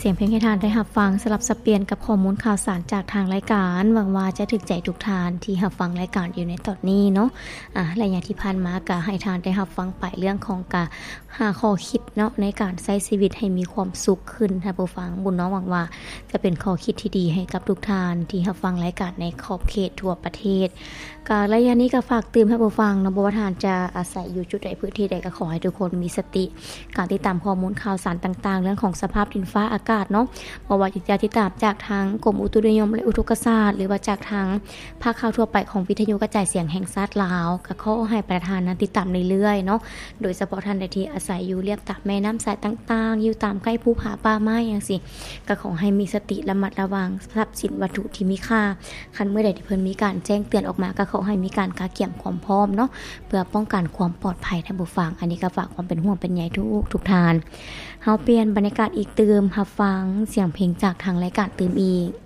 ສຽງເພງໃຫ້ທ່ານໄດ້ຮັບຟັງ ສະຫຼັບສັບປ່ຽນກັບຂໍ້ມູນຂ່າວສານຈາກທາງລາຍການ. ຫວັງວ່າຈະຖືກໃຈທຸກທ່ານທີ່ຮັບຟັງລາຍການຢູ່ໃນຕອນນີ້ເນາະ. ອາ ໄລຍະທີ່ຜ່ານມາກໍໃຫ້ທ່ານໄດ້ຮັບຟັງໄປເລື່ອງຂອງການຫາຂໍ້ຄິດເນາະ ໃນການໃຊ້ຊີວິດໃຫ້ມີຄວາມສຸກຂຶ້ນ. ທ່ານຜູ້ຟັງ, ບຸນນ້ອງຫວັງວ່າຈະເປັນຂໍ້ຄິດທີ່ດີໃຫ້ກັບທຸກທ່ານທີ່ຮັບຟັງລາຍການໃນຂອບເຂດທົ່ວປະເທດ. ກະໄລຍະນີ້ກໍຝາກເຕືອນໃຫ້ຜູ້ຟັງເນາະ, ບໍ່ວ່າທ່ານຈະອາໄສຢູ່ຈຸດໃດ ພື້ນທີ່ໃດ ກໍຂໍໃຫ້ທຸກຄົນມີສະຕິ ການຕິດຕາມຂໍ້ມູນຂ່າວສານຕ່າງໆ ເລື່ອງຂອງສະພາບດິນຟ້າອາກາດເນາະ, ບໍ່ວ່າຈະຕິດຕາມຈາກທາງກົມອຸຕຸນິຍົມ ແລະ ອຸທົກກະສາດ ຫຼືວ່າຈາກທາງພາກຂ່າວທົ່ວໄປຂອງວິທະຍຸກະຈາຍສຽງແຫ່ງຊາດລາວ, ກໍຂໍໃຫ້ປະຊາຊົນນັ້ນຕິດຕາມເລື້ອຍໆເນາະ. ໂດຍສະເພາະທ່ານໃດທີ່ອາໄສຢູ່ລຽບຕາມແມ່ນ້ຳສາຍຕ່າງໆ, ຢູ່ຕາມໃກ້ພູຜາປ່າໄມ້ຈັ່ງຊີ້, ກໍຂໍໃຫ້ມີສະຕິລະມັດລະວັງຊັບສິນວັດຖຸທີ່ມີຄ່າ. ຄັນເມື່ອໃດທີ່ເພິ່ນມີການແຈ້ງເຕືອນອອກມາ ກໍຂໍໃຫ້ມີການກະກຽມຄວາມພ້ອມເນາະ ເພື່ອປ້ອງກັນຄວາມປອດໄພ. ທ່ານຜູ້ຟັງ, ອັນນີ້ກໍຝາກຄວາມເປັນຫ່ວງເປັນໃຍທຸກໆທ່ານ. ເຮົາປ່ຽນບັນຍາກາດອີກຕື່ມ, ຮັບຟັງສຽງເພງຈາກທາງລາຍການຕື່ມອີກ.